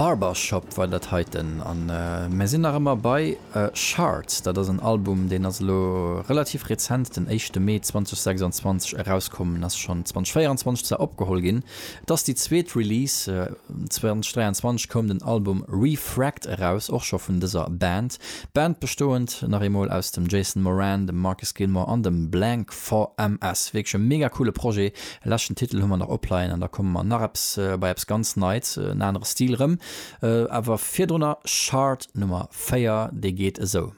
Barbershop war dat heiten an mär sinn nach ëmmer bei Shards. Dat ass en Album, deen ass elo relativ rezent, den éischte Mee 2026 erauskomm en ass schonn 2024 zwar opgeholl ginn. Et ass déi zweet Release, 2023 koum den Album Refract eraus, och scho vun dëser Band. Band bestoend nach eemol aus dem Jason Moran, dem Marcus Gilmore an dem Blank. VMS, wierklech e mega coole Projet. E leschten Titel hu mer nach opleien an da komme mer nach eppes bei eppes ganz Neits, en anere Stil rëm. Awer virdrunner Chart Nummer 4, dee geet esou.